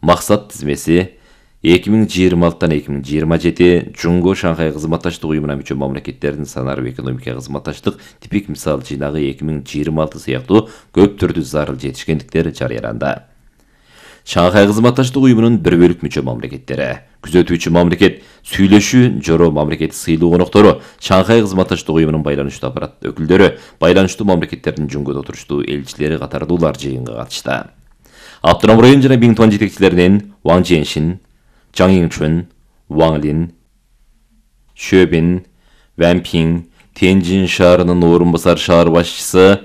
Максат тизмеси 2026-2027 Жунго Шанхай кызматташтык уюмуна мүчө мамлекеттердин санарып экономика кызматташтык типик мисал жыйнагы 2026 сыяктуу көп түрдүү зарыл жетишкендиктер жарыяланды. Шанхай кызматташтык уюмунун бир бөлүк мүчө мамлекеттери, күзөтүүчү мамлекет, сүйлөшүү жоро мамлекет сыйлуу коноктору, Шанхай кызматташтык уюмунун байланыштуу аппарат өкүлдөрү, байланыштуу мамлекеттердин Жунгодо отуруштуу элчилери катардуулар жыйынга катышты. Автоном район жана Бингтуан жетекчилеринен Ван Чжэншин, Чжан Йиңчун, Ван Лин, Шөбин, Ван Пинг, Тяньжин шаарынын орун басар шаар башчысы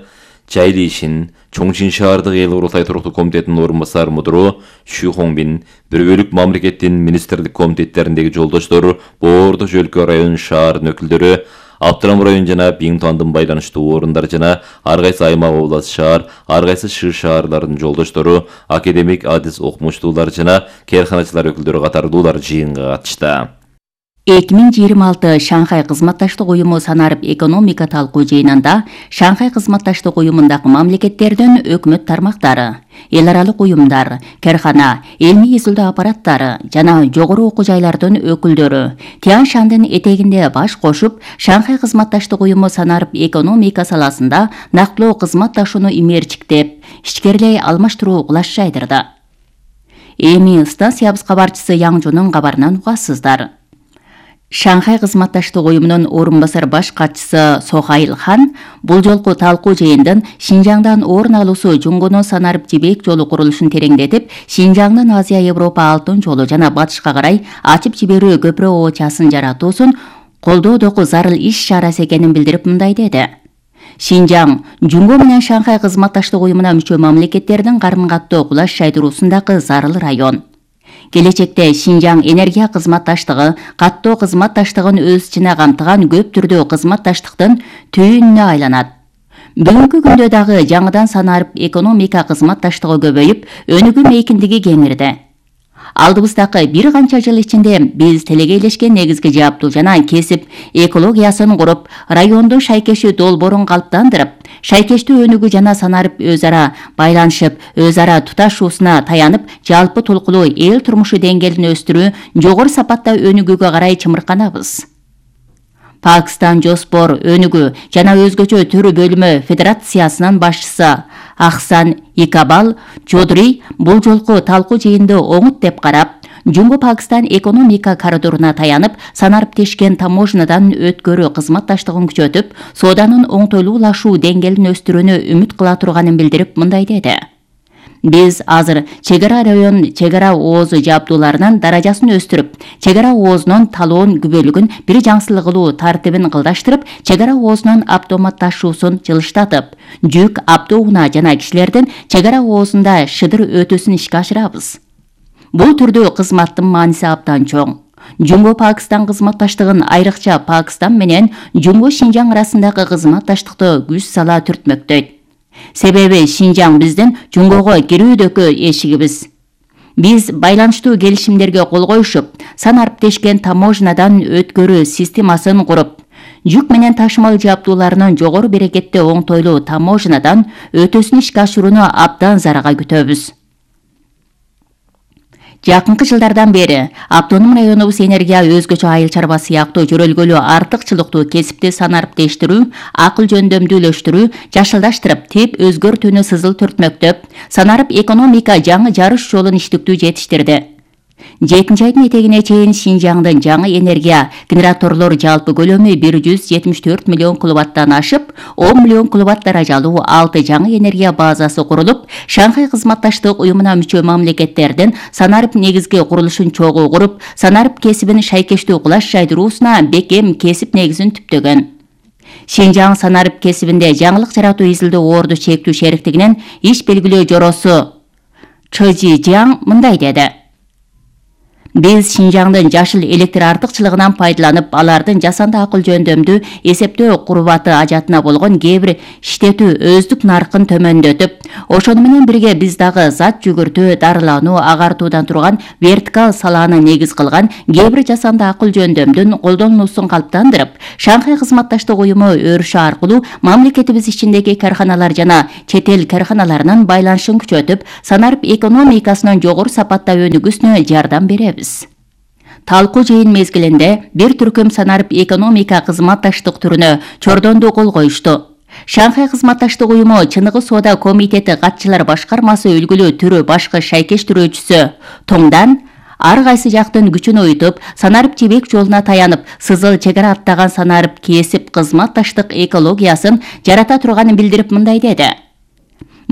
Чжай Лишин, Чоңчин шаардык эл курултай туруктуу комитетинин орун басар мудуру Шу Хоңбин, бир бөлүк мамлекеттин министрлик комитеттериндеги жолдоштору, Боордо өлкө район шаарынын өкүлдөрү, Автоном район жана Бингтуандын байланыштуу орундары жана ар кайсы аймак област шаар, ар кайсы шы шаарлардын жолдоштору, академик адис окумуштуулар жана керканачылар өкүлдөрү катардуулар жыйынга катышты. 2026 Шанхай кызматташтык уюму санарып экономика талкуу жыйынында Шанхай кызматташтык уюмундагы мамлекеттердин өкмөт тармактары, эл аралык уюмдар, керкана, элми изилдөө аппараттары жана жогору окуу жайлардын өкүлдөрү Тянь Шандын этегинде баш кошуп, Шанхай кызматташтык уюму санарып экономика саласында нактылуу кызматташууну имээрчиктеп, ичкерилей алмаштыруу кулаш жайдырды. Эми станциябыз кабарчысы Яңжунун кабарынан угасыздар. Шанхай кызматташтык уюмунун орун басар баш катчысы Сохаил Хан бул жолку талкуу жыйындын Шинжаңдан орун алуусу Жунгону санарып жибек жолу курулушун тереңдетип, Шинжаңдын Азия Европа алтын жолу жана батышка карай ачып жиберүү көпүрө оочасын жаратуусун колдоодогу зарыл иш чарасы экенин билдирип мындай деди. Шинжаң Жунго менен Шанхай кызматташтык уюмуна мүчө мамлекеттердин карын-каттоо кулаш жайдыруусундагы зарыл район. Келечекте Шинжаң энергия кызматташтыгы, каттоо кызматташтыгын өз ичине камтыган көп түрдүү кызматташтыктын түйүнүнө айланат. Бүгүнкү күндө дагы жаңыдан санарып экономика кызматташтыгы көбөйүп, өнүгүү мейкиндиги кеңирди. Алдыбыздагы бир канча жыл ичинде биз телегейлешкен негизги жааптуу жана кесип экологиясын куруп, районду шайкештүү долбоорун калыптандырып, шайкештүү өнүгүү жана санарып өз ара байланышып, өз ара туташуусуна таянып, жалпы толкулуу эл турмушу деңгээлин өстүрүү, жогору сапатта өнүгүүгө карай чымырканабыз. Пакистан Жоспор өнүгүү жана өзгөчө төрү бөлүмү федерациясынын башчысы Ахсан Икабал Чодри бул жолку талкуу жыйынды оңут деп карап, Жумго Пакистан экономика коридоруна таянып, санарып тешкен таможнядан өткөрүү кызматташтыгын күчөтүп, сооданын оңтойлуулашуу деңгээлин өстүрүүнү үмүт кыла турганын билдирип мындай деди. Биз азыр чегара район чегара оозу жабдууларынын даражасын өстүрүп, чегара оозунун талоон күбөлүгүн бир жаңсылык кылуу тартибин кылдаштырып, чегара оозунун автоматташуусун жылыштатып, жүк автоунаа жана кишилердин чегара оозунда шыдыр өтүүсүн ишке ашырабыз. Бул түрдүү кызматтын мааниси абдан чоң. Жумго Пакистан кызматташтыгын айрыкча Пакистан менен Жумго Шинжаң арасындагы кызматташтыкты күч сала түртмөктөйт. Себеби Шинжаң биздин Жунгого кирүүдөгү эшигибиз. Биз байланыштуу келишимдерге кол коюшуп, санарып тешкен таможнядан өткөрүү системасын куруп, жүк менен ташымал жабдууларынын жогору берекеттүү оңтойлуу таможнядан өтүүсүн ишке ашырууну абдан зарага күтөбүз. Жакынкы жылдардан бери автоном районубуз энергия өзгөчө айыл чарба сыяктуу жөрөлгөлүү артыкчылыктуу кесипти санарып тештирүү, акыл жөндөмдүүлөштүрүү, жашылдаштырып, тип өзгөртүүнү сызыл түртмөктөп, санарып экономика жаңы жарыш жолун иштиктүү жетиштирди. 7 айдын этегине чейин Шинжаңдын жаңы энергия генераторлор жалпы көлөмү 174 миллион киловаттан ашып, 10 миллион киловатт даражалуу 6 жаңы энергия базасы курулуп, Шанхай кызматташтык уюмуна мүчө мамлекеттердин санарып негизги курулушун чогуу куруп, санарып кесибин шайкештүү кулаш жайдыруусуна бекем кесип негизин түптөгөн. Шинжаң санарып кесибинде жаңылык жаратуу изилдөө орду чектүү шериктигинин иш белгилөө жоросу Чжи Жиаң мындай деди. Биз Шинжаңдын жашыл электр артыкчылыгынан пайдаланып, алардын жасанды акыл жөндөмдүү эсептөө курбаты ажатына болгон кээ бир иштетүү өздүк наркын төмөндөтүп, ошону менен бирге биз дагы зат жүгүртүү, дарылануу, агартуудан турган вертикал салааны негиз кылган кээ бир жасанды акыл жөндөмдүн колдонулуусун калыптандырып, Шанхай кызматташтык уюму өрүшү аркылуу мамлекетибиз ичиндеги карханалар жана чет эл карханаларынын байланышын күчөтүп, санарып экономикасынын жогору сапатта өнүгүүсүнө жардам беребиз. Талкуу жыйын мезгилинде бир түркүм санарып экономика кызматташтык түрүнө чордондуу кол коюшту. Шанхай кызматташтык уюму Чыныгы соода комитети катчылар башкармасы үлгүлүү түрү башкы шайкештирүүчүсү Тоңдан ар кайсы жактын күчүн уютуп, санарып жибек жолуна таянып, сызыл чек ара аттаган санарып кесип кызматташтык экологиясын жарата турганын билдирип мындай деди.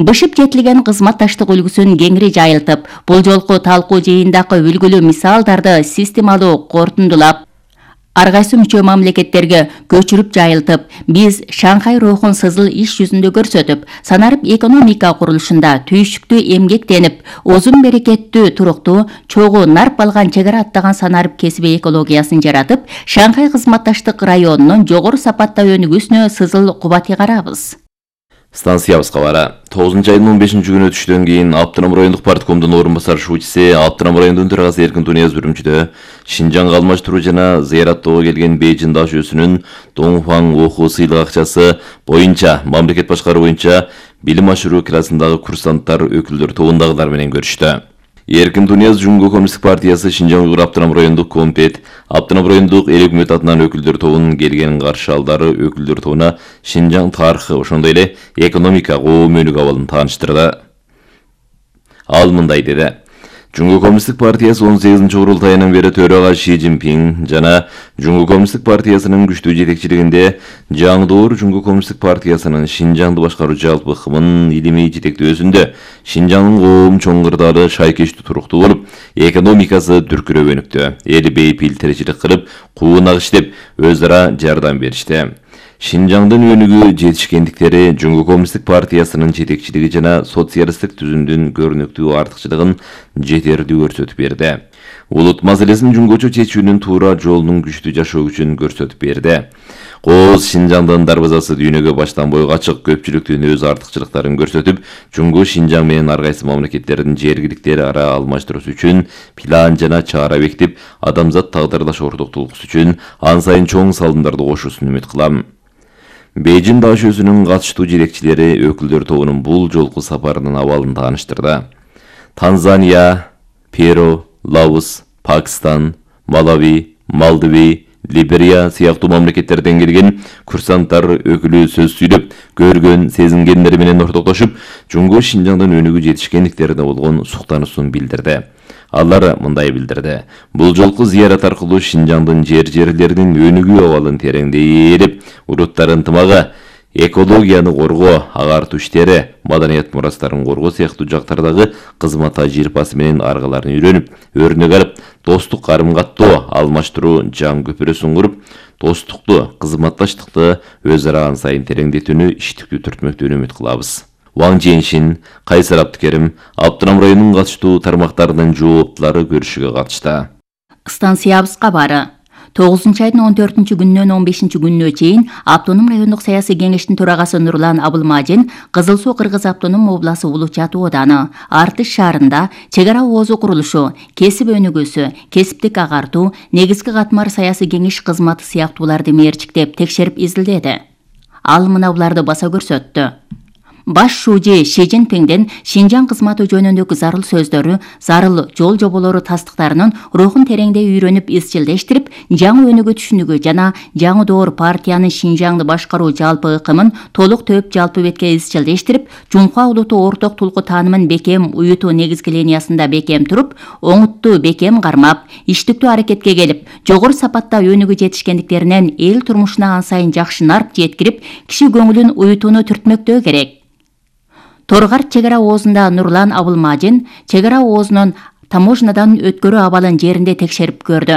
Бышып жетилген кызматташтык үлгүсүн кеңири жайылтып, бул жолку талкуу жыйындагы үлгүлүү мисалдарды системалуу кортундулап, ар кайсы мүчө мамлекеттерге көчүрүп жайылтып, биз Шанхай рухун сызыл иш жүзүндө көрсөтүп, санарып экономика курулушунда түйшүктүү эмгектенип, озун берекеттүү, туруктуу, чогуу нарп алган чек ара аттаган санарып кесиби экологиясын жаратып, Шанхай кызматташтык районунун жогору сапатта өнүгүүсүнө сызыл кубат ыгарабыз. Станциябыз кабары. 9-айдын 15-күнү түштөн кийин Аптырам райондук парткомдун орун басар шуучусы, Аптырам райондун төрагасы Эркин Тунияз үрүмчүдө Шинжаңга алмаштыруу жана зыяраттоого келген Бейжин дашөөсүнүн Доңфаң окуу сыйлык акчасы боюнча мамлекет башкаруу боюнча билим ашыруу классындагы курсанттар өкүлдөр тобундагылар менен көрүштү. Эркин Тунияз Жумго коммунисттик партиясы Шинжаң Уйгур Аптырам райондук комитет, Аптырам райондук эл өкмөт атынан өкүлдөр тобунун келген каршы алдары өкүлдөр тобуна Шинжаң тарыхы, ошондой эле экономика коом өнүгүү абалын тааныштырды. Ал мындай деди. Жумго коммунисттик партиясы 18-курултайынан бери төрага Ши Цзиньпин жана Жумго коммунисттик партиясынын күчтүү жетекчилигинде жаңдоор Жумго коммунисттик партиясынын Шинжаңды башкаруу жалпы ыкмынын илимий жетектөөсүндө Шинжаңдын коом чоң кырдаалы шайкештүү туруктуу болуп, экономикасы дүркүрөп өнүктү. Эл бейпил тиричилик кылып, куунак иштеп, өз ара жардам беришти. Шинжаңдын өнүгүү жетишкендиктери Жумго коммунисттик партиясынын жетекчилиги жана социалисттик түзүмдүн көрүнүктүү артыкчылыгын жетердүү көрсөтүп берди. Улут маселесин жумгочо чечүүнүн туура жолунун күчтүү жашоо күчүн көрсөтүп берди. Кооз Шинжаңдын дарбазасы дүйнөгө баштан бойго ачык, көпчүлүктүн өз артыкчылыктарын көрсөтүп, Жумго Шинжаң менен ар кайсы мамлекеттердин жергиликтер ара алмаштыруусу үчүн план жана чара бекитип, адамзат тагдырлаш ортоктулугу үчүн ан сайын чоң салымдарды кошуусун үмүт кылам. Бейжин дашөөсүнүн катыштуу жетекчилери өкүлдөр тобунун бул жолку сапарынын абалын тааныштырды. Танзания, Перу, Лаос, Пакистан, Малави, Малдиви, Либерия сыяктуу мамлекеттерден келген курсанттар өкүлү сөз сүйлөп, көргөн, сезингендери менен ортоктошуп, Жумго Шинжаңдын өнүгүү жетишкендиктерине болгон суктануусун билдирди. Алар мындай билдирди. Бул жолку зыярат аркылуу Шинжаңдын жерлеринин өнүгүү абалын тереңдейип, уруттар ынтымагы, экологияны коргоо, агартуу иштери, маданият мурастарын коргоо сыяктуу жактардагы кызмат тажрыйбасы менен аргаларын үйрөнүп, өрнөк алып, достук карым-каттоо, алмаштыруу жан көпүрөсүн куруп, достукту, кызматташтыкты өз ара ан сайын тереңдетүүнү иштиктүү түртмөктүүнү үмүт кылабыз. Ван Чжэньшин, Кайсар Абдыкерим, Аптырам районунун катыштуу тармактарынын жооптулары көрүшүгө катышты. Станциябыз кабары. 9-айдын 14-күнүнөн 15-күнүнө чейин Автоном райондук саясий кеңештин төрагасы Нурлан Абылмажин Кызыл Суу Кыргыз автоном областы Улуу Чатуу ооданы Артыш шаарында чек ара оозу курулушу, кесип өнүгүүсү, кесиптик агартуу, негизги катмар саясий кеңеш кызматы сыяктууларды мерчиктеп текшерип изилдеди. Ал мына буларды баса көрсөттү. Баш шууji Ши Цзиньпинден Шинжаң кызматы жөнүндөгү зарыл сөздөрү, зарыл жол жоболору тастыктарынын рухун тереңдей үйрөнүп изчилдештирип, жаңы өнүгүү түшүнүгү жана жаңы доор партиянын Шинжаңды башкаруу жалпы ыкымын толук төп жалпы бетке изчилдештирип, жумка улуту орток тулку таанымын бекем уютуу негизги линиясында бекем туруп, оңуттуу бекем кармап, иштиктүү аракетке келип, жогору сапатта өнүгүү жетишкендиктеринен эл турмушуна ан сайын жакшы нарп жеткирип, киши көңүлүн уютууну түртмөктөө керек. Торгар чек ара оозунда Нурлан Абылмажин чек ара оозунун таможнядан өткөрүү абалын жеринде текшерип көрдү.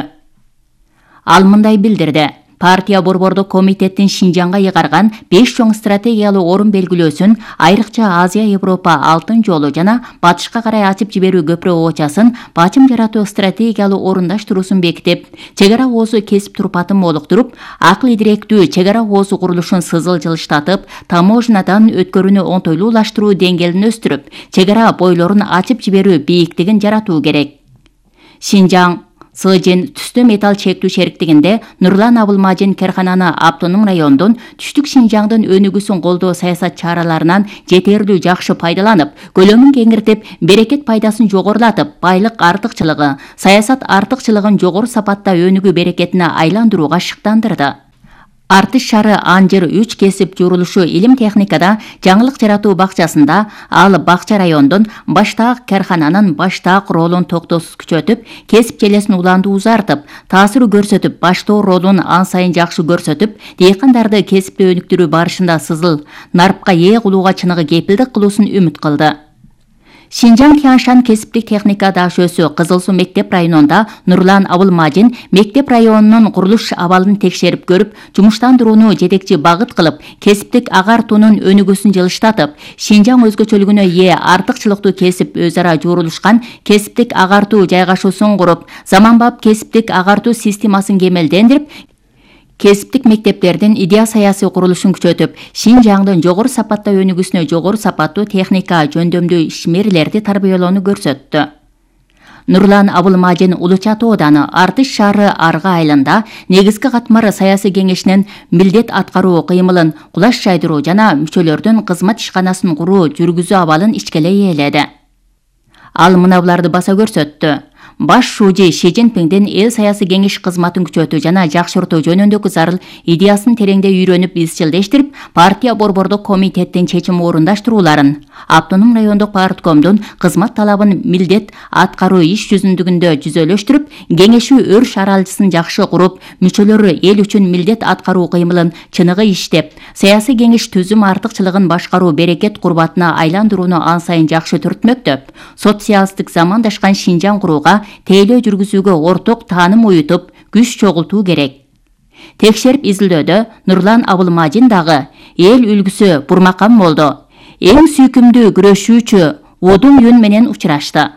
Ал мындай билдирди. Партия борбордук комитеттин Шинжаңга ыйгарган 5 чоң стратегиялык орун белгилөөсүн, айрыкча Азия-Европа алтын жолу жана батышка карай ачып жиберүү көпүрө оочасын бачым жаратуу стратегиялык орундаштыруусун бекитип, чек ара оозу кесип турпатын молуктуруп, акыл идиректүү чек ара оозу курулушун сызыл-жылыштатып, таможнядан өткөрүүнү оңтойлуулаштыруу деңгээлин өстүрүп, чек ара бойлорун ачып жиберүү бийиктигин жаратуу керек. Шинжаң Сыжин түстө металл чектүү шериктигинде Нурлан Абылмажин Керхананы автоном райондун түштүк Шинжаңдын өнүгүүсүн колдоо саясат чараларынан жетерлүү жакшы пайдаланып, көлөмүн кеңиртип, берекет пайдасын жогорулатып, байлык артыкчылыгы, саясат артыкчылыгын жогору сапатта өнүгүү берекетине айландырууга шыктандырды. Артыш шары Анжыр 3 кесип журулушу илим техникада жаңылык жаратуу бакчасында ал бакча райондун баштаак кархананын баштаак ролун токтоосуз күчөтүп, кесип желесин уланды узартып, таасир көрсөтүп, баштоо ролун ан сайын жакшы көрсөтүп, дыйкандарды кесипти өнүктүрүү барышында сызыл нарпка ээ кылууга чыныгы кепилдик кылуусун үмүт кылды. Шинжаң Тяншан кесиптик техника дашөөсү Кызыл Суу мектеп районунда Нурлан Абылмажин мектеп районунун курулуш абалын текшерип көрүп, жумуштандырууну жетекчи багыт кылып, кесиптик агартуунун өнүгүүсүн жылыштатып, Шинжаң өзгөчөлүгүнө ээ артыкчылыктуу кесип өз ара журулушкан кесиптик агартуу жайгашуусун куруп, заманбап кесиптик агартуу системасын кемелдендирип, кесиптик мектептердин идея саясий курулушун күчөтүп, Шинжаңдын жогору сапатта өнүгүүсүнө жогору сапаттуу техника жөндөмдүү ишмерлерди тарбиялоону көрсөттү. Нурлан Абылмажин Улучат ооданы Артыш шаары Арга айылында негизги катмар саясий кеңешинин милдет аткаруу кыймылын кулаш жайдыруу жана мүчөлөрдүн кызмат ишканасын куруу жүргүзүү абалын ичкеле ээледи. Ал мына буларды баса көрсөттү. Баш шужи Ши Цзиньпиңдин эл саясий кеңеш кызматын күчөтүү жана жакшыртуу жөнүндөгү зарыл идеясын тереңде үйрөнүп изчилдештирип, партия борбордук комитеттин чечим орундаштырууларын, автоном райондук парткомдун кызмат талабын милдет аткаруу иш жүзүндүгүндө жүзөлөштүрүп, кеңешүү өр шаралчысын жакшы куруп, мүчөлөрү эл үчүн милдет аткаруу кыймылын чыныгы иштеп, саясий кеңеш түзүм артыкчылыгын башкаруу берекет курбатына айландырууну ан сайын жакшы түртмөктөп, социалисттик замандашкан Шинжаң курууга тейлөө жүргүзүүгө орток тааным уютуп, күч чогултуу керек. Текшерип изилдөөдө Нурлан Абылмажин дагы эл үлгүсү Бурмакан болду. Эң сүйкүмдүү күрөшүүчү Одун Юн менен учурашты.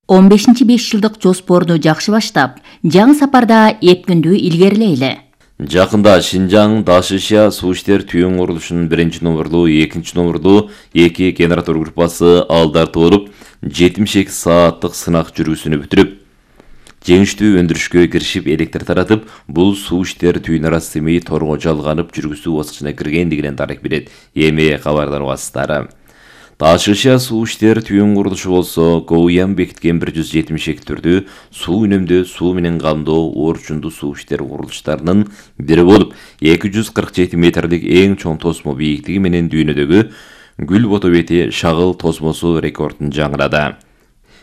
15-5 жылдык жоспорду жакшы баштап, жаңы сапарда эпкүндүү илгерилейли. Жакында Шинжаң Дашишя суу иштер түйүн курулушунун 1-номерлуу, 2-номерлуу 2 генератор группасы алдартып болуп, 72 сааттык сынак жүргүсүнү бүтүрүп, жеңиштүү өндүрүшкө киришип, электр таратып, бул суу иштер түйүн арасы Семей Торго жалганып жүргүзүү баскычына киргендигинен дарек берет эми кабардар басылары. Дашишя суу иштер түйүн курулушу болсо, Гоуян бекиткен 172 түрдүү суу үнөмдөө суу менен камдоо орчундуу суу иштер курулуштарынын бири болуп, 247 метрлик эң чоң тосмо бийиктиги менен дүйнөдөгү Гүл Ботобети шагыл тосмосу рекордун жаңырады.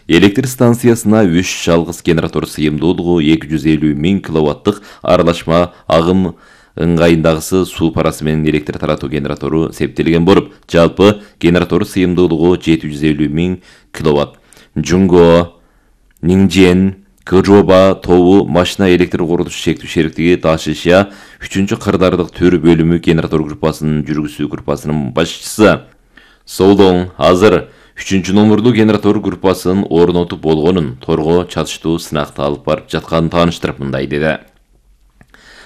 Электр станциясына 3 жалгыз генератор сыйымдуулугу 250 000 киловаттык аралашма агым ыңгайындагысы суу парасы менен электр таратуу генератору септелген болуп, жалпы генератор сыйымдуулугу 750 000 киловатт. Жунго, Ниңжен, Кыжоба тобу машина электр курулуш шектүү шериктиги Дашишя 3 кырдаардык төр бөлүмү генератор группасынын жүргүзүү группасынын башчысы. Солдоң азыр 3-номерлуу генератор группасынын орнотуп болгонун, Торго чатыштуу сынакты алып барып жатканын тааныштырып мындай деди.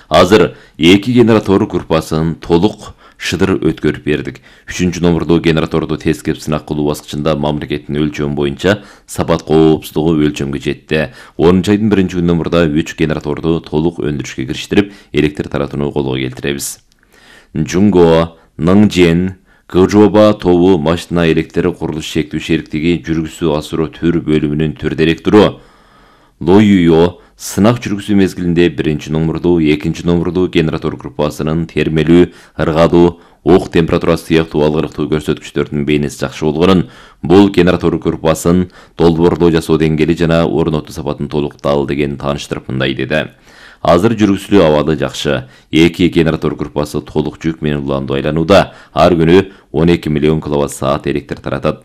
Азыр 2 генератор группасын толук шыдыр өткөрүп бердик. 3-номерлуу генераторду тескеп сынак кылуу баскычында мамлекеттин өлчөмү боюнча сапат коопсуздугу өлчөмгө жетти. 10 айдын 1-номерда 3 генераторду толук өндүрүшкө кириштирип, электр таратууну колго келтиребиз. Жунго, Ниңжен, Кыжоба тобу машина электр курулуш шектүү шериктиги жүргүзүү асыроо төр бөлүмүнүн төр директору. Лоюйо сынак жүргүзүү мезгилинде 1-номерлуу, 2-номерлуу генератор группасынын термелүү, ыргадуу, ок температурасы сыяктуу алгырыктуу көрсөткүчтөрдүн бейнеси жакшы болгонун, бул генератор группасын долбоорлоо жасоо деңгээли жана орнотуу сапатын толуктал деген тааныштырып мындай деди. Азыр жүргүзүлүү абалы жакшы. 2 генератор группасы толук жүк менен уланду айланууда. Ар күнү 12 миллион киловатт саат электр таратат.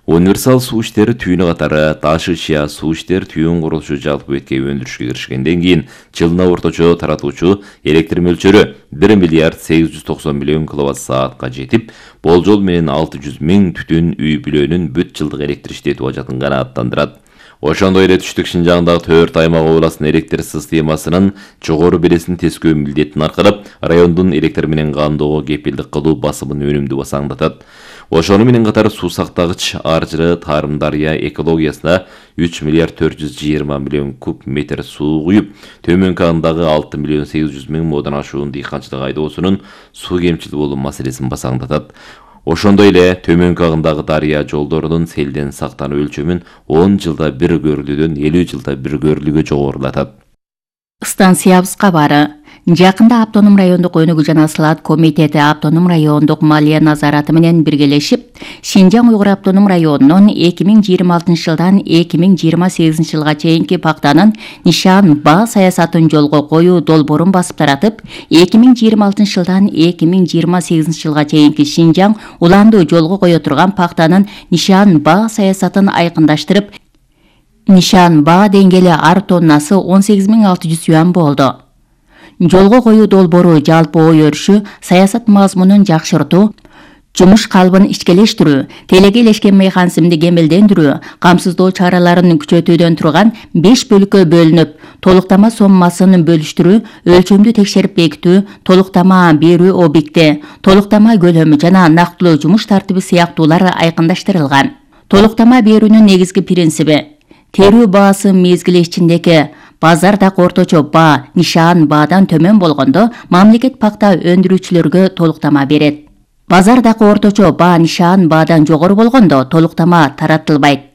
Универсал суу иштери түйүнү катары таш ышыя суу иштер түйүн курулушу жалпы бетке өндүрүшкө киришкенден кийин жылына орточо таратуучу электр мөлчөрү 1 миллиард 890 миллион киловатт-саатка жетип, болжол менен 600 миң түтүн үй бүлөнүн бүт жылдык электр иштетүү ажатын канааттандырат. Ошондой эле түштүк Шинжаңдагы 4 аймак областын электр системасынын жогору бересин тескөө милдетин аркалап, райондун электр менен каамдоого кепилдик кылуу басымын өнүмдүү басаңдатат. Ошону менен катар суу сактагыч Аржыры Тарым дарыя экологиясына 3 миллиард 420 миллион куб метр суу куюп, төмөнкү андагы 6 миллион 800 миң модон ашуун дыйканчылык айдоосунун суу кемчил болуу маселесин басаңдатат. Ошондой эле төмөнкү агындагы дарыя жолдорунун селден сактануу өлчөмүн 10 жылда бир көрүлүүдөн 50 жылда бир көрүлүүгө жогорулатат. Станциябыз кабары. Жакында Автоном райондук өнүгүү жана слаат комитети Автоном райондук малия назараты менен биргелешип, Шинжаң Уйгур Автоном районунун 2026 жылдан 2028 жылга чейинки пактанын нишан ба саясатын жолго коюу долбоорун басып таратып, 2026 жылдан 2028 жылга чейинки Шинжаң уланды жолго кое турган пактанын нишан ба саясатын айкындаштырып, нишан ба деңгээли ар тоннасы 18.600 юан болду. Жолго коюу долбоору жалпы ой өрүшү, саясат мазмунун жакшыртуу, жумуш калыбын ичкелештирүү, телегейлешкен механизмди кемелдендирүү, камсыздоо чараларын күчөтүүдөн турган 5 бөлүккө бөлүнүп, толуктама соммасын бөлүштүрүү, өлчөмдү текшерип бекитүү, толуктама берүү объекти, толуктама көлөмү жана нактылуу жумуш тартиби сыяктуулар айкындаштырылган. Толуктама берүүнүн негизги принциби: терүү баасы мезгили ичиндеги базардагы орточо баа нишан баадан төмөн болгондо мамлекет пакта өндүрүүчүлөргө толуктама берет. Базардагы орточо баа нишан баадан жогору болгондо толуктама таратылбайт.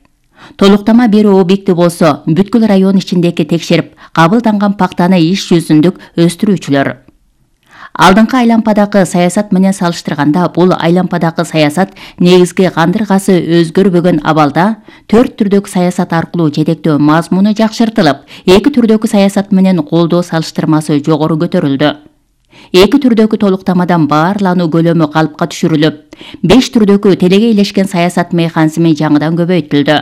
Толуктама берүү объекти болсо бүткүл район ичиндеги текшерип кабылданган пактаны иш жүзүндүк өстүрүүчүлөр. Алдыңкы айлампадагы саясат менен салыштырганда бул айлампадагы саясат негизги кандыргасы өзгөрбөгөн абалда 4 түрдөгү саясат аркылуу жетектөө мазмуну жакшыртылып, 2 түрдөгү саясат менен колдоо салыштырмасы жогору көтөрүлдү. 2 түрдөгү толуктамадан баарлануу көлөмү калыпка түшүрүлүп, 5 түрдөгү телегейлешкен саясат механизми жаңыдан көбөйтүлдү.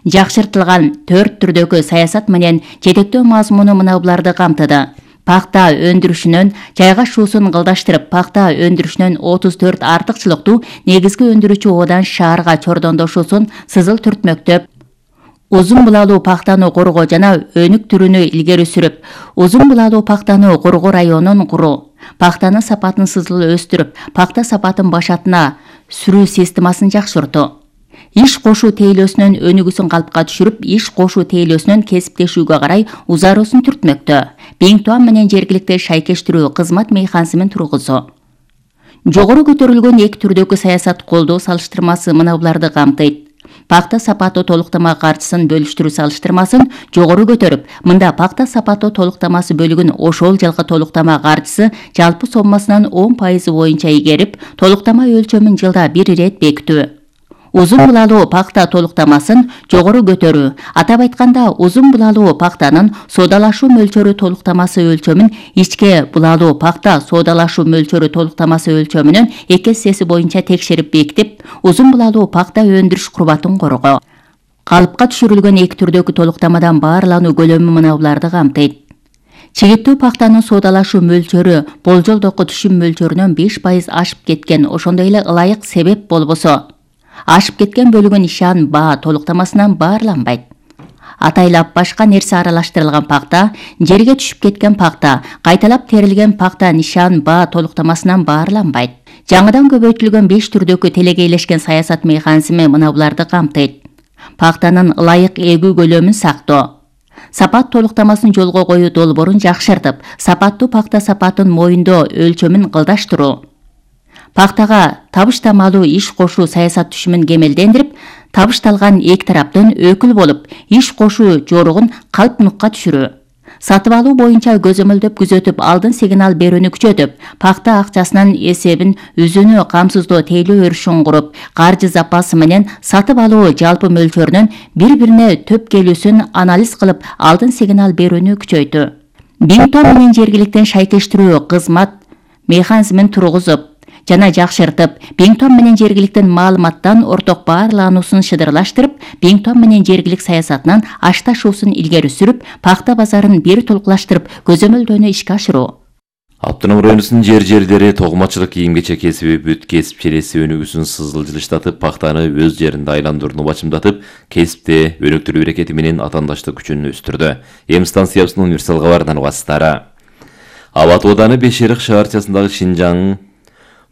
Жакшыртылган 4 түрдөгү саясат менен жетектөө мазмуну мына буларды камтыды. Пакта өндүрүшүнөн жайгашуусун кылдаштырып, пакта өндүрүшүнөн 34 артыкчылыктуу негизги өндүрүүчү оодан шаарга чордондошуусун сызыл түртмөктөп, узун булалуу пактаны коргоо жана өнүк түрүнү илгери сүрүп, узун булалуу пактаны коргоо районун куруу, пактанын сапатын сызыл өстүрүп, пакта сапатын башатына сүрүү системасын жакшыртуу. Иш кошуу тейлөөсүнүн өнүгүүсүн калыпка түшүрүп, иш кошуу тейлөөсүнүн кесиптешүүгө карай узаруусун түртмөктө. Биңтуан менен жергиликти шайкештирүү кызмат механизмин тургузуу. Жогору көтөрүлгөн 2 түрдөгү саясат колдоо салыштырмасы мына буларды камтыйт. Пакта сапаттуу толуктама каржысын бөлүштүрүү салыштырмасын жогору көтөрүп, мында пакта сапаттуу толуктамасы бөлүгүн ошол жылкы толуктама каржысы жалпы соммасынын 10% боюнча игерип, толуктама өлчөмүн жылда бир ирет бекитүү. Узун булалуу пакта толуктамасын жогору көтөрүү. Атап айтканда, узун булалуу пактанын соодалашуу мөлчөрү толуктамасы өлчөмүн ичке булалуу пакта соодалашуу мөлчөрү толуктамасы өлчөмүнүн 2/3 боюнча текшерип бекитип, узун булалуу пакта өндүрүш курбатын коргоо. Калыпка түшүрүлгөн 2 түрдөгү толуктамадан баарлануу көлөмү мына буларды камтыйт. Чегиттүү пактанын соодалашуу мөлчөрү болжолдоку түшүм мөлчөрүнөн 5% ашып кеткен, ошондой эле ылайык себеп болбосо, ашып кеткен бөлүгү нишан баа толуктамасынан баарланбайт. Атайлап башка нерсе аралаштырылган пакта, жерге түшүп кеткен пакта, кайталап терилген пакта нишан баа толуктамасынан баарланбайт. Жаңыдан көбөйтүлгөн 5 түрдөгү телегейлешкен саясат механизми мына буларды камтыйт. Пактанын ылайык эгүү көлөмүн сактоо. Сапат толуктамасын жолго коюу долбоорун жакшыртып, сапаттуу пакта сапатын моюндоо өлчөмүн кылдаштыруу. Пактага табыштамалуу иш кошуу саясат түшүмүн кемелдендирип, табышталган эки тараптын өкүл болуп, иш кошуу жоругун калпнукка түшүрүү. Сатып алуу боюнча көзөмөлдөп күзөтүп, алдын сигнал берүүнү күчөтүп, пакта акчасынын эсебин үзүүнү камсыздоо тейлөө өрүшүн куруп, каржы запасы менен сатып алуу жалпы мөлчөрүнүн бири-бирине төп келүүсүн анализ кылып, алдын сигнал берүүнү күчөйтүү. Биңтуан менен жергиликтен шайкештирүү кызмат механизмин тургузуп, жана жакшыртып, Бингтон менен жергиликтин маалыматтан орток баарлануусун шыдырлаштырып, Бингтон менен жергилик саясатынан ашташуусун илгери сүрүп, пахта базарын бир толуклаштырып, көзөмөлдөөнү ишке ашыруу. Автоном районунун жерлери токумачылык кийим-кечек кесиби бүт кесип челеси өнүгүүсүн сызылжылыштатып, пахтаны өз жеринде айландырууну бачымдатып, кесипте өнүктүрүү берекети менен атаандаштык күчүн өстүрдү. Эм станциясынын универсал кабарынан убастары. Абат ооданы Бешерик шаарчасындагы Шинжаң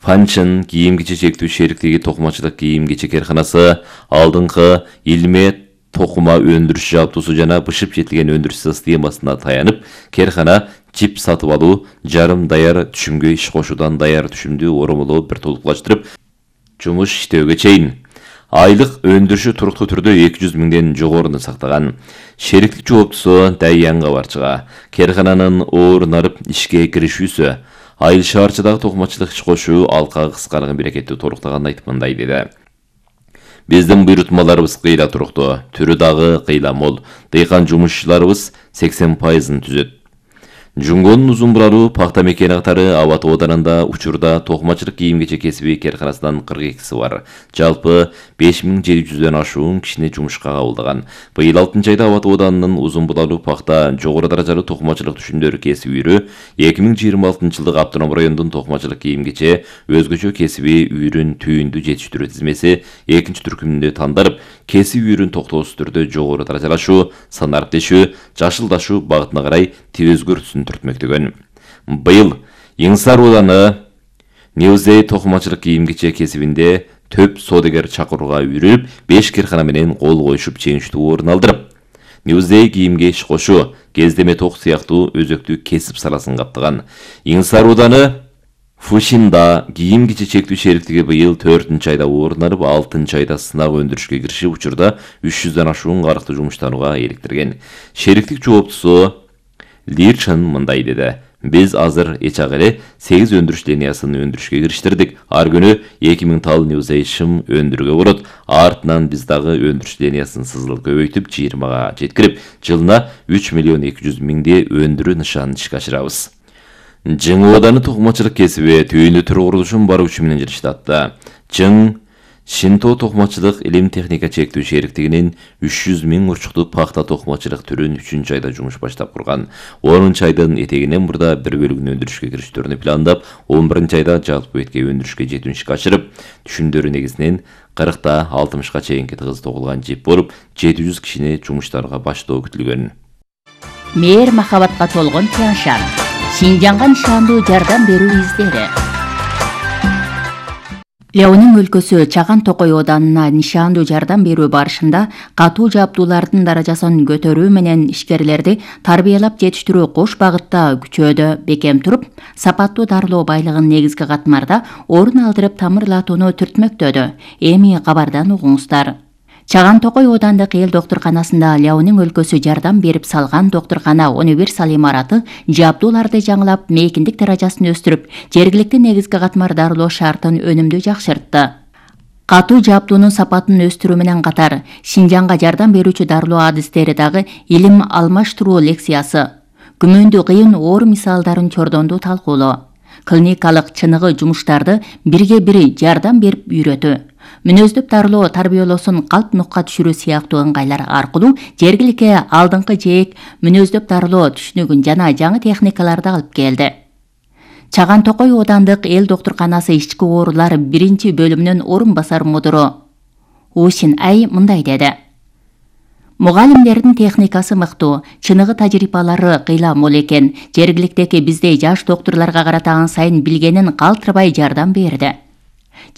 Фанчын кийим-кечек чектүү шериктиги токумачылык кийим-кечек карканасы алдыңкы илме токума өндүрүш жабдуусу жана бышып жетилген өндүрүш системасына таянып, керкана чип сатып алуу, жарым даяр түшүмгө иш кошуудан даяр түшүмдү оромолоо бир толуклаштырып, жумуш иштөөгө чейин айлык өндүрүшү туруктуу түрдө 200 миңден жогоруну сактаган. Шериктик жооптусу Дайян кабарчыга керкананын оорунарып ишке киришүүсү, айыл шаарчыдагы токумачылык иш кошуу алкагы кыскарган берекетти толуктаганын айтып мындай деди. Биздин буйрутмаларыбыз кыйла туруктуу, түрү дагы кыйла мол. Дыйкан жумушчуларыбыз 80%-ын түзөт. Жунгонун узун буралуу пахта мекени катары Абат ооданында учурда токумачылык кийим-кечек кесиби керканасынан 42 бар. Жалпы 5700дөн ашуун кишини жумушка кабылдаган. Быйыл 6-айда Абат ооданынын узун буралуу пахта жогору даражалуу токумачылык түшүмдөр кесип үйрү 2026-жылдык автоном райондун токумачылык кийим-кече өзгөчө кесиби үйрүн түйүндү жетиштирүү тизмеси 2-түркүмүндө тандарып, кесип үйрүн токтоосуз түрдө жогору даражалашуу, санариптешүү, жашылдашуу багытына карай өзгөртүүсүн түртмөктөгөн. Быйыл Иңсар ооданы Неузей токумачылык кийим-кечек кесибинде төп соодагер чакырууга үйрүлүп, 5 керкана менен кол коюшуп чеңиштүү орун алдырып, Неузей кийимге иш кошуу, кездеме ток сыяктуу өзөктүү кесип саласын каптаган. Иңсар ооданы Фушинда кийим-кечек чектүү шериктиги быйыл 4-айда орун алып, 6-айда сынак өндүрүшкө киришип, учурда 300дөн ашуун карыкты жумуштанууга иликтирген. Шериктик жооптусу Лирчан мындай деди. Биз азыр эчак эле 8 өндүрүш линиясын өндүрүшкө кириштирдик. Ар күнү 2000 тал Неузей шым өндүрүүгө болот. Артынан биз дагы өндүрүш линиясын сызыл көбөйтүп 20га жеткирип, жылына 3 миллион 200 миңди өндүрүү нышанын ишке ашырабыз. Жың ооданы токумачылык кесиби түйүндү төр курулушун баруу күчү менен жыштатты. Жың Шинто токумачылык илим техника чектүү шериктигинин 300 миң урчуктуу пахта токумачылык түрүн 3-айда жумуш баштап курган. 10-айдын этегинен мурда бир бөлүгүн өндүрүшкө кириштерүүнү пландап, 11-айда жалпы бетке өндүрүшкө жетүүнү ишке ашырып, түшүмдөрү негизинен 40-та 60га чейинки тыгыз тогулган жип болуп, 700 кишини жумуштарга баштоо күтүлгөн. Мээр махабатка толгон Тяншан, Шинжаңга нышандуу жардам берүү издери. Леонин өлкөсү Чаган Токой ооданына нишандуу жардам берүү барышында катуу жабдуулардын даражасын көтөрүү менен ишкерлерди тарбиялап жетиштирүү кош багытта күчөөдө бекем туруп, сапаттуу дарылоо байлыгын негизги катмарда орун алдырып тамырлатууну түртмөктөдү. Эми кабардан угуңуздар. Чаган Токой оодандык эл доктурканасында Леонин өлкөсү жардам берип салган доктуркана универсал имараты жабдууларды жаңылап, мейкиндик даражасын өстүрүп, жергиликтүү негизги катмар дарылоо шартын өнүмдүү жакшыртты. Катуу жабдуунун сапатын өстүрүү менен катар, Шинжаңга жардам берүүчү дарылоо адистери дагы илим алмаштыруу лекциясы, күмөндүү кыйын оор мисалдарын чордондуу талкуулоо, клиникалык чыныгы жумуштарды бирге бири жардам берип үйрөтүү, мүнөздөп дарылоо тарбиялоосун калп нукка түшүрүү сыяктуу ыңгайлар аркылуу жергиликке алдыңкы жээк мүнөздөп дарылоо түшүнүгүн жана жаңы техникаларды алып келди. Чаган Токой оодандык эл доктурканасы ички оорулар 1-бөлүмүнүн орун басар мудуру Усин Ай мындай деди. Мугалимдердин техникасы мыктуу, чыныгы тажрыйбалары кыйла мол экен. Жергиликтеги биздей жаш доктурларга карата сайын билгенин калтырбай жардам берди.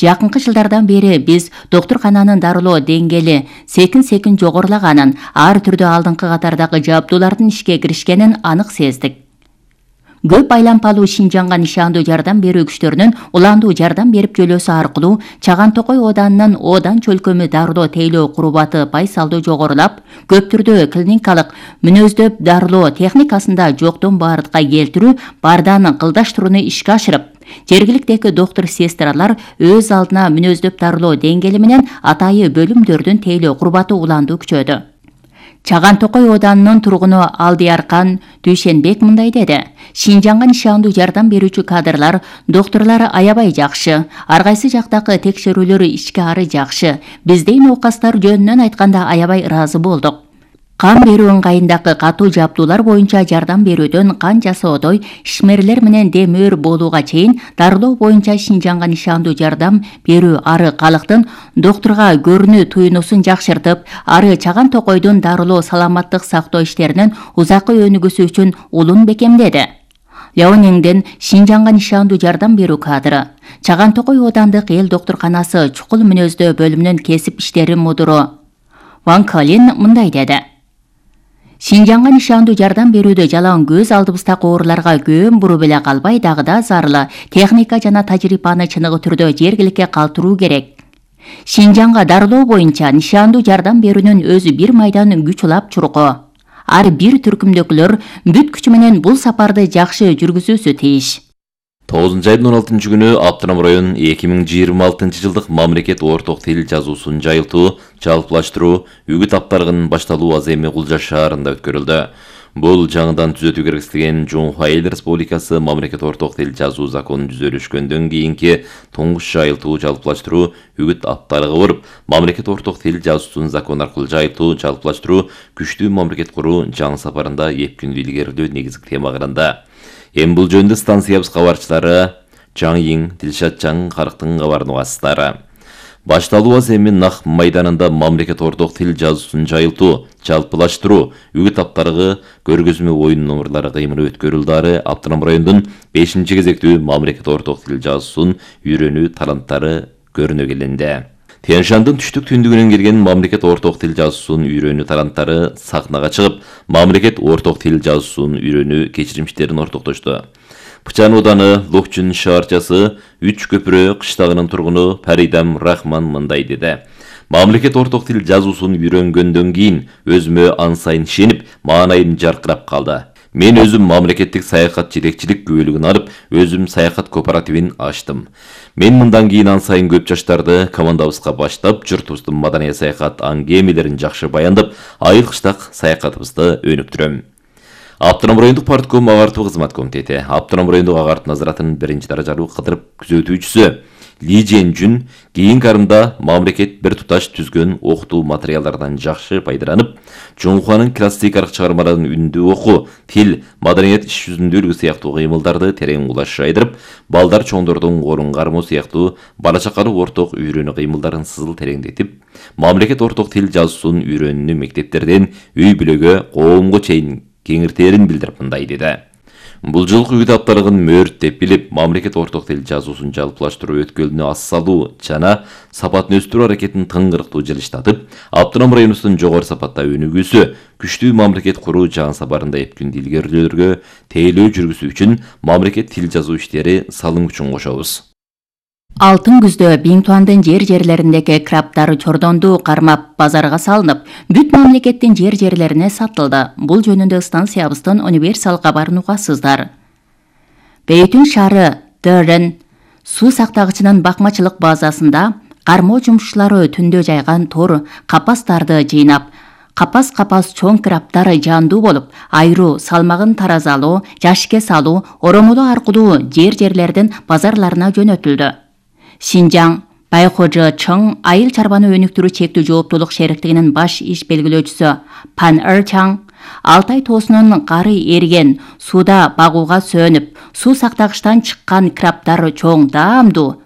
Жакынкы жылдардан бери биз доктуркананын дарылоо деңгээли секин жогорулаганын, ар түрдүү алдыңкы катардагы жабдуулардын ишке киришкенин анык сездик. Көп айлампалуу Шинжаңга нишандуу жардам берүү күчтөрүнүн уландуу жардам берип жөлөөсү аркылуу Чаган Токой ооданынын оодан чөлкөмү дарылоо тейлөө курубаты пайсалдуу жогорулап, көп түрдүү клиникалык мүнөздөп дарылоо техникасында жоктон бардыкка келтирүү, бардан кылдаштырууну ишке ашырып, жергиликтеги доктур-сестралар өз алдына мүнөздөп дарылоо деңгээли менен атайы бөлүмдөрдүн тейлөө курубаты уландуу күчөдү. Чаган Токой Оданынын тургуну Алдыяркан Дүйшенбек мындай деди. Шинжаңга нишандуу жардам берүүчү кадрлар, доктурлар аябай жакшы. Ар кайсы жактагы текшерүүлөр ички ары жакшы. Бизде оокастар жөнүнөн айтканда аябай ыраазы болдук. Кан берүү ыңгайындагы катуу жабдуулар боюнча жардам берүүдөн кан жасоодой ишмерлер менен демөөр болууга чейин дарылоо боюнча Шинжаңга нишандуу жардам берүү ары калктын доктурга көрүнүү туюнусун жакшыртып, ары Чаган Токойдун дарылоо саламаттык сактоо иштеринин узаккы өнүгүүсү үчүн улун бекемдеди. Леониңден Шинжаңга нишандуу жардам берүү кадры. Чаган Токой Оодандык эл доктурканасы чукул мүнөздөө бөлүмүнүн кесип иштери мудуру Ван Калин мындай деди. Шинжаңга нишандуу жардам берүүдө жалаң көз алдыбыздагы ооруларга көөн буруп эле калбай, дагы зарылы техника жана тажрыйбаны чыныгы түрдө жергиликке калтыруу керек. Шинжаңга дарылоо боюнча нишандуу жардам берүүнүн өзү бир майдан күч улап чуркоо. Ар бир түркүмдөкүлөр бүт күчү менен бул сапарды жакшы жүргүзүүсү тийиш. 9 айдын 16 күнү Аптырам район 2026 жылдык мамлекет орток тил жазуусун жайылтуу, жалпылаштыруу, үгүт аптарыгынын башталуу аземи Кулжа шаарында өткөрүлдү. Бул жаңыдан түзөтүү керектелген Жумхуа Эл Республикасы мамлекет орток тил жазуу закону түзөлүшкөндөн кийинки туңгуч жайылтуу, жалпылаштыруу, үгүт аптарыгы болуп, мамлекет орток тил жазуусун закон аркылуу жайылтуу, жалпылаштыруу, күчтүү мамлекет куруу жаңы сапарында эпкүндүү илгерилөө негизги тема кырында. Бул жөнүндө станциябыз кабарчылары Жаңйин, Дилшат Жаң Карыктын кабарын угасыздар. Башталуу аземи Нах майданында мамлекет орток тил жазуусун жайылтуу, жалпылаштыруу, үгүт аптарыгы, көргөзмө оюн номерлары кыймылы өткөрүлдү. Аптырам районунун 5-кезектүү мамлекет орток тил жазуусун үйрөнүү таланттары көрүнө келинди. Тянь-Шандын түштүк түндүгүнөн келген мамлекет орток тил жазуусун үйрөнүү таланттары сахнага чыгып, мамлекет орток тил жазуусун үйрөнүү кечиримиштерин ортоктошту. Пычан Ооданы Локчун шаарчасы Үч Көпүрө кыштагынын тургуну Паридам Рахман мындай деди. Мамлекет орток тил жазуусун үйрөнгөндөн кийин өзүмө ан сайын ишенип, маанайым жаркырап калды. Мен өзүм мамлекеттик саякат жетекчилик күбөлүгүн алып, өзүм саякат кооперативин ачтым. Мен мындан кийин ан сайын көп жаштарды командабызга баштап, журтубуздун маданий саякат аңгемелерин жакшы баяндап, айыл кыштак саякатыбызды өнүктүрөм. Аптырам райондук партком агартуу кызмат комитети, Аптырам райондук агартуу назаратынын 1-даражалуу кыдырып күзөтүүчүсү Ли Жен-Жүн кийинки арымда мамлекет бир туташ түзгөн окутуу материалдарынан жакшы пайдаланып, Жумхуанын классикалык чыгармаларын үндүү окуу, тил, маданият иш жүзүндө үлгү сыяктуу кыймылдарды терең кулаш жайдырып, балдар чоңдордун орун кармоо сыяктуу бала чакалык орток үйрөнүү кыймылдарын сызыл тереңдетип, мамлекет орток тил жазуусун үйрөнүүнү мектептерден үй бүлөгө, коомго чейин кеңиртерин билдирип мындай деди. Бул жылкы үгүт аптарыгын мөөрт билип, мамлекет орток тил жазуусун жалпылаштыруу өткөлүнө ас салуу жана сапатын өстүрүү аракетин тыңгырыктуу жылыштатып, Аптырам районубуздун жогору сапатта өнүгүүсү, күчтүү мамлекет куруу жаңы сапарында эпкүндүү илгерилөөлөргө тейлөө жүргүзүү үчүн мамлекет тил жазуу иштери салым үчүн кошобуз. Алтын күздө Биңтуандын жерлериндеги краптар чордонду кармап базарга салынып, бүт мамлекеттин жерлерине сатылды. Бул жөнүндө станциябыздын универсал кабарын угасыздар. Бейтүн шаары Дөрен суу сактагычынын бакмачылык базасында кармоо жумушчулары түндө жайган тор капастарды жыйнап, капас чоң краптар жандуу болуп, айруу, салмагын таразалоо, жашикке салуу, оромолоо аркылуу жерлердин базарларына жөнөтүлдү. Шинжаң Байхожо Чың айыл чарбаны өнүктүрүү чектүү жооптуулук шериктигинин баш иш белгилөөчүсү Пан Чаң Алтай тоосунун кары эриген сууда багууга сөөнүп, суу сактагычтан чыккан краптар чоң даамдуу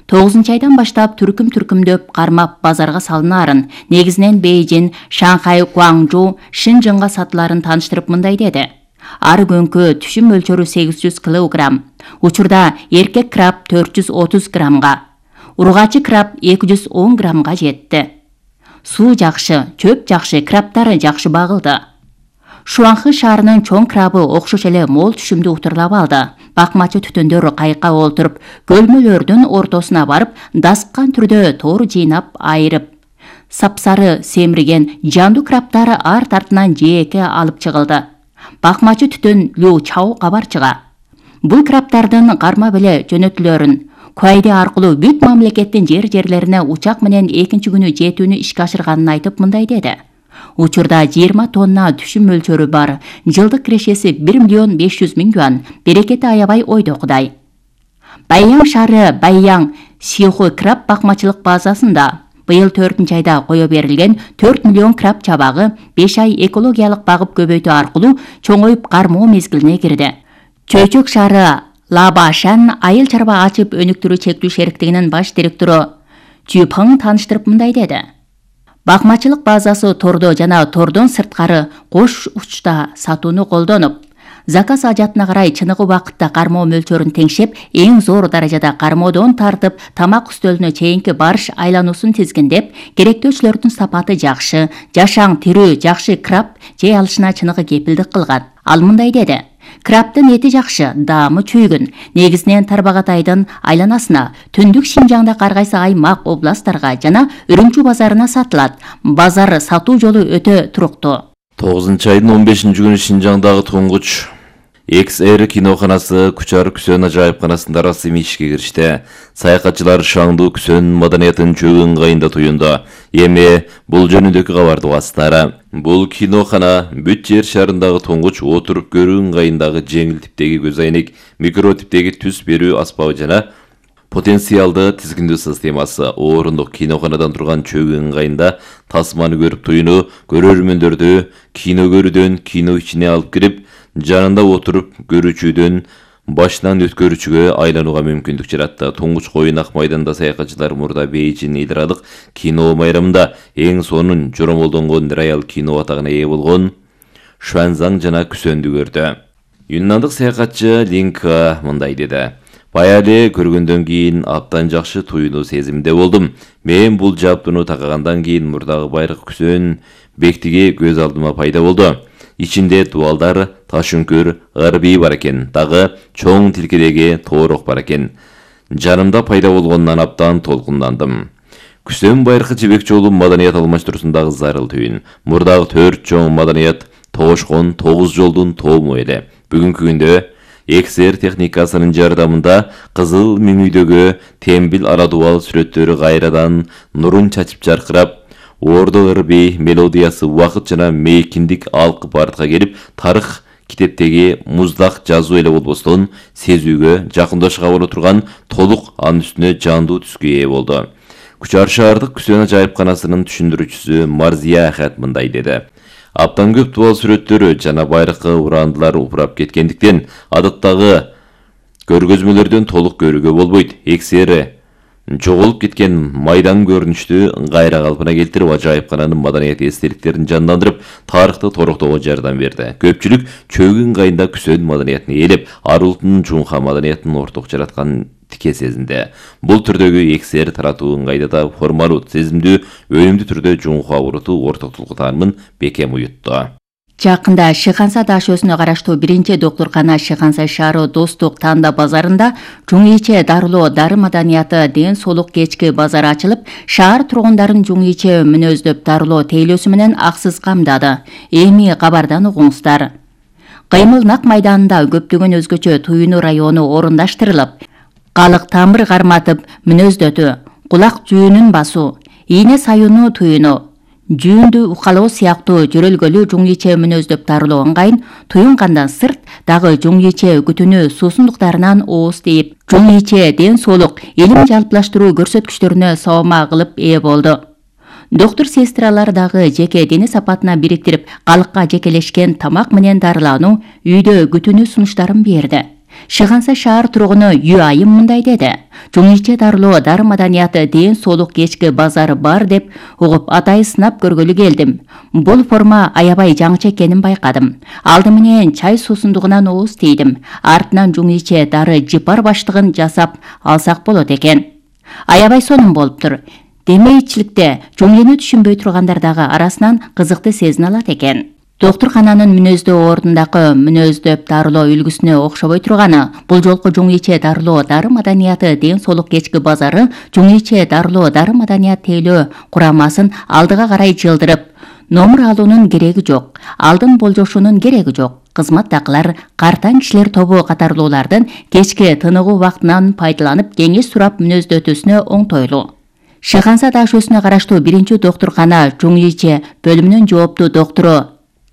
9-айдан баштап түркүмдөп кармап базарга салынаарын, негизинен Бейжин, Шанхай, Гуаңжу, Шинжыңга сатыларын тааныштырып мындай деди. Ар күнгө түшүм мөлчөрү 800 килограмм. Учурда эркек краб 430 граммга, ургачы краб 210 граммга жетти. Суу жакшы, чөп жакшы, крабтары жакшы багылды. Шуанхы шаарынын чоң крабы окшош эле мол түшүмдү утурлап алды. Бакмачы түтөндөр кайыкка олтуруп, көлмөлөрдүн ортосуна барып, даскан түрдө тор жыйнап айырып, сапсары семирген жандуу крабтары арт артынан жээкке алып чыгылды. Бакмачы түтөн Лю Чао кабарчыга бул краптардын кармап эле жөнөтүлөрүн Куайде аркылуу бүт мамлекеттин жерлерине учак менен экинчи күнү жетүүнү ишке ашырганын айтып мындай деди. Учурда 20 тонна түшүм мөлчөрү бар. Жылдык кирешеси 1 500 000 юан. Берекети аябай ойдокудай. Баяң шаары Баяң Сиху краб бакмачылык базасында быйыл 4-айда кое берилген 4 миллион краб чабагы 5 ай экологиялык багып көбөйтүү аркылуу чоңоюп кармоо мезгилине кирди. Чөйчөк шаары Лабашан айыл чарба ачып өнүктүрүү чектүү шериктигинин баш директору Чүпң тааныштырып мындай деди. Бакмачылык базасы тордо жана тордон сырткары кош учта сатууну колдонуп, заказ ажатына карай чыныгы убакытта кармоо мөлчөрүн теңшеп, эң зор даражада кармоодон тартып тамак үстөлүнө чейинки барыш айлануусун тизгиндеп, керектөөчүлөрдүн сапаты жакшы, жашаң, тирүү, жакшы краб жей алышына чыныгы кепилдик кылган. Ал мындай деди. Крабтын эти жакшы, даамы чүйгүн. Негизинен Тарбагатайдын айланасына, түндүк Шинжаңда ар кайсы аймак, областтарга жана Үрүмчү базарына сатылат. Базар сатуу жолу өтө туруктуу. 9-айдын 15-күнү Шинжаңдагы туңгуч XR киноханасы Кучар Күсөн ажайыпканасында расмий ишке киришти. Саякатчылар шаңдуу Күсөн маданиятын чөгүн ыңгайында туюнду. Эми бул жөнүндөгү кабарды угасыздар. Бул кинохана бүт жер шарындагы туңгуч отуруп көрүү ыңгайындагы жеңил типтеги көз айнек, микро типтеги түс берүү аспабы жана потенциалды тизгиндөө системасы. Орындук киноханадан турган чөгүн ыңгайында тасманы көрүп туюну көрөрмөндөрдү кино көрүүдөн кино ичине алып кирип, жанында отуруп көрүүчүдөн башынан өткөрүүчүгө айланууга мүмкүндүк жаратты. Туңгуч коюн ак майданда саякатчылар мурда Бейжин эл аралык кино майрамында эң сонун жоромолдонгон реал кино атагына ээ болгон Шуанзаң жана Күсөндү көрдү. Юннандык саякатчы Линка мындай деди. Баяле көргөндөн кийин абдан жакшы туюнуу сезимде болдум. Мен бул жаптууну такагандан кийин мурдагы байыркы Күсөн бектиги көз алдыма пайда болду. Ичинде дуалдар, ташүңкүр, ырбий бар экен, дагы чоң тилкедеги тоорок бар экен. Жанымда пайда болгондон абдан толкундандым. Күсөн байыркы жибек жолу маданият алмаштыруусундагы зарыл түйүн. Мурдагы 4 чоң маданият тоошкон 9 жолдун тоому эле. Бүгүнкү күндө XR техникасынын жардамында кызыл меңүйдөгү тембил арадубал сүрөттөрү кайрадан нурун чачып жаркырап, ордо ырбий мелодиясы убакыт жана мейкиндик алкып артка келип, тарых китептеги муздак жазуу эле болбостон сезүүгө, жакындашка боло турган толук анын үстүнө жандуу түскө ээ болду. Кучар шаардык Күсөн ажайыпканасынын түшүндүрүүчүсү Марзия Ахат мындай деди. Абдан көп дубал сүрөттөрү жана байыркы урандылар упурап кеткендиктен адаттагы көргөзмөлөрдөн толук көрүүгө болбойт. XR жоголуп кеткен майдан көрүнүштү кайра калпына келтирип, ажайыпкананын маданият эстеликтерин жандандырып, тарыхты тороктоого жардам берди. Көпчүлүк чөгүн ыңгайында Күсөн маданиятын ээлеп, ар улуттун жумка маданиятын орток жараткан тике сезинде. Бул түрдөгү XR таратуу ыңгайда да формалуу, сезимдүү, өнүмдүү түрдө жумка урутуу ортоктулук таанымын бекем уютту. Жакында Шыханса дашөсүнө караштуу 1-доктуркана Шыханса шаары Достук Танда базарында жуң-иче дарылоо дары маданияты ден соолук кечки базары ачылып, шаар тургундарын жуң-иче мүнөздөп дарылоо тейлөөсү менен аксыз камдады. Эми кабардан угуңуздар. Кыймыл Нак майданында көптөгөн өзгөчө туюнуу району орундаштырылып, калык тамыр карматып мүнөздөтүү, кулак жүүнүн басуу, ийне саюунуу туюну, жүүндү укалоо сыяктуу жөрөлгөлүү жуң-иче мүнөздөп дарылоо ыңгайын туюнгандан сырт дагы жуң-иче күтүнүү суусундуктарынан ооз тийип, жуң-иче ден соолук илим жалпылаштыруу көрсөткүчтөрүнө сабама кылып ээ болду. Доктор сестралар дагы жеке дене сапатына бириктирип, калыкка жекелешкен тамак менен дарылануу, үйдө күтүнүү сунуштарын берди. Шыханса шаар тургуну Юайым мындай деди. Жуң-иче дарылоо дары маданияты ден соолук кечки базары бар деп угуп, атайы сынап көргөлү келдим. Бул форма аябай жаңыча экенин байкадым. Алды менен чай суусундугунан ооз тийдим. Артынан жуң-иче дары жыпар баштыгын жасап алсак болот экен. Аябай сонун болуптур. Демейчиликте жуң-эни түшүнбөй тургандар дагы арасынан кызыкты сезине алат экен. Доктуркананын мүнөздөө ордундагы мүнөздөп дарылоо үлгүсүнө окшобой турганы, бул жолку жуң-иче дарылоо дары маданияты ден соолук кечки базары жуң-иче дарылоо дары маданият тейлөө курамасын алдыга карай жылдырып, номур алуунун кереги жок, алдын болжошунун кереги жок. Кызматтагылар, картаң кишилер тобу катарлуулардын кечки тыныгуу убактынан пайдаланып кеңеш сурап мүнөздөтүүсүнө оңтойлуу. Шыханса дашөсүнө караштуу 1-доктуркана Жуңйиче бөлүмүнүн жооптуу доктору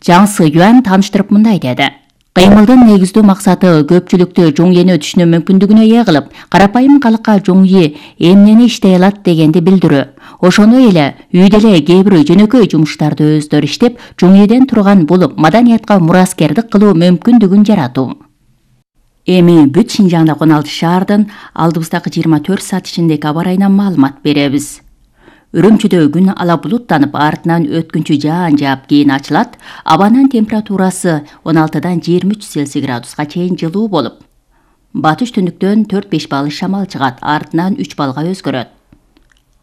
Жаң Сыюан тааныштырып мындай деди. Кыймылдын негиздүү максаты көпчүлүктү Жуңйени түшүнүү мүмкүндүгүнө ээ кылып, карапайым калыкка Жуңйи эмнени иштей алат дегенди билдирүү. Ошону эле үйдө эле кээ бир жөнөкөй жумуштарды өздөрү иштеп, Жуңйиден турган бул маданиятка мураскердик кылуу мүмкүндүгүн жаратуу. Эми бүт Шинжаңда 16 шаардын алдыбыздагы 24 саат ичиндеги аба ырайынан маалымат беребиз. Үрүмчүдө күн ала булуттанып, артынан өткүнчү жаан жаап кийин ачылат. Абанын температурасы 16-дан 23 Цельсий градуска чейин жылуу болуп, батыш түндүктөн 4-5 балл шамал чыгат, артынан 3 баллга өзгөрөт.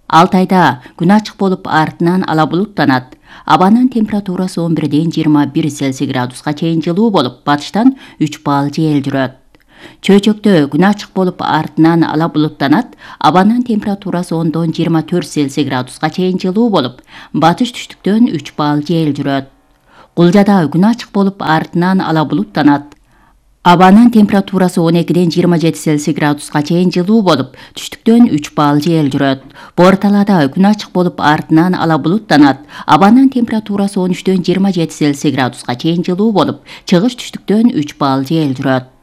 Алтайда күн ачык болуп, артынан ала булуттанат. Абанын температурасы 11-ден 21 Цельсий градуска чейин жылуу болуп, батыштан 3 балл жел жүрөт. Чөйчөктө күн ачык болуп, артынан ала булуттанат. Абанын температурасы 10-дон 24 Цельсий градуска чейин жылуу болуп, батыш түштүктөн 3 балл жел жүрөт. Кулжада күн ачык болуп, артынан ала булуттанат. Абанын температурасы 12-ден 27 Цельсий градуска чейин жылуу болуп, түштүктөн 3 балл жел жүрөт. Борталада күн ачык болуп, артынан ала булуттанат. Абанын температурасы 13-дөн 27 Цельсий градуска чейин жылуу болуп, чыгыш түштүктөн 3 балл жел жүрөт.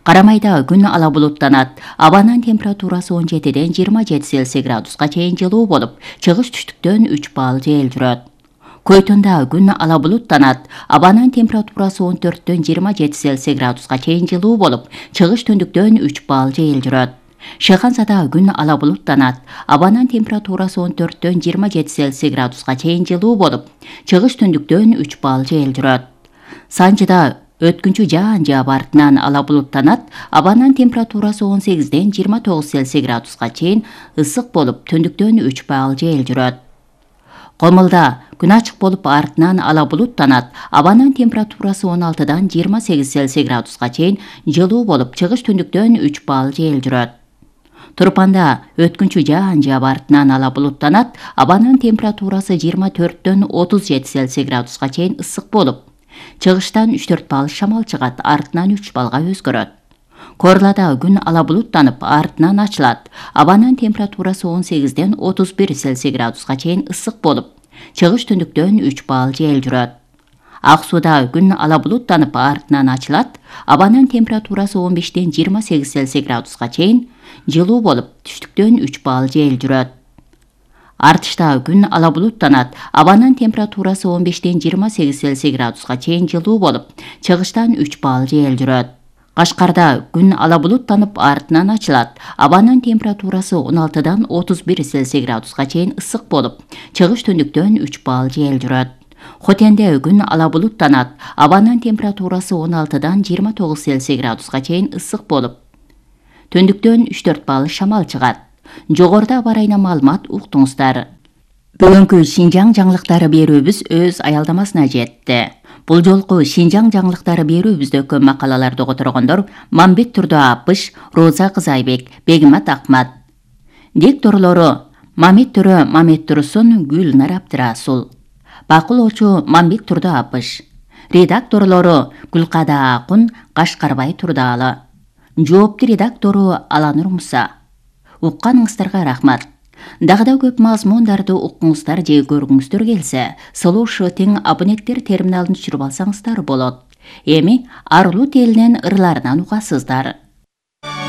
Карамайда күн ала булуттанат. Абанын температурасы 17-ден 27 Цельсий градуска чейин жылуу болуп, чыгыш түштүктөн 3 балл жел жүрөт. Койтонда күн ала булуттанат. Абанын температурасы 14-дөн 27 Цельсий градуска чейин жылуу болуп, чыгыш түндүктөн 3 балл жел жүрөт. Шыхансада күн ала булуттанат. Абанын температурасы 14-дөн 27 Цельсий градуска чейин жылуу болуп, чыгыш түндүктөн 3 балл жел жүрөт. Санжыда өткүнчү жаан жаап, артынан ала булуттанат. Абанын температурасы 18-ден 29 Цельсий градуска чейин ысык болуп, түндүктөн 3 балл жел жүрөт. Комулда күн ачык болуп, артынан ала булуттанат. Абанын температурасы 16-дан 28 Цельсий градуска чейин жылуу болуп, чыгыш түндүктөн 3 балл жел жүрөт. Турпанда өткүнчү жаан жаап, артынан ала булуттанат. Абанын температурасы 24-дөн 37 Цельсий градуска чейин ысык болуп, чыгыштан 3-4 балл шамал чыгат, артынан 3 баллга өзгөрөт. Корлада күн ала булуттанып, артынан ачылат. Абанын температурасы 18-ден 31 Цельсий градуска чейин ысык болуп, чыгыш түндүктөн 3 балл жел жүрөт. Ак сууда күн ала булуттанып, артынан ачылат. Абанын температурасы 15-ден 28 Цельсий градуска чейин жылуу болуп, түштүктөн 3 балл жел жүрөт. Артышта күн ала булуттанат. Абанын температурасы 15-ден 28 Цельсий градуска чейин жылуу болуп, чыгыштан 3 балл жел жүрөт. Кашкарда күн ала булуттанып, артынан ачылат. Абанын температурасы 16-дан 31 Цельсий градуска чейин ысык болуп, чыгыш түндүктөн 3 балл жел жүрөт. Хотенде күн ала булуттанат. Абанын температурасы 16-дан 29 Цельсий градуска чейин ысык болуп, түндүктөн 3-4 балл шамал чыгат. Жогоруда аба ырайынан маалымат уктуңуздар. Бүгүнкү Шинжаң жаңылыктары берүүбүз өз аялдамасына жетти. Бул жолку Шинжаң жаңылыктары берүүбүздө көп макалаларды которгондор Мамбет Турду Апыш, Роза Кызайбек, Бегимат Акмат. Дикторлору Мамет Төрө Мамет Турсун, Гүлнар Абдырасул. Бакылоочу Мамбет Турду Апыш. Редакторлору Гүлкада Акун, Кашкарбай Турдаалы. Жоопту редактору Аланур Муса. Укканыңыздарга рахмат. Дагы да көп мазмундарды уккуңуздар же көргүңүздөр келсе, Слуша тең абоненттер терминалын түшүрүп алсаңыздар болот. Эми Арлут элинин ырларынан угасыздар.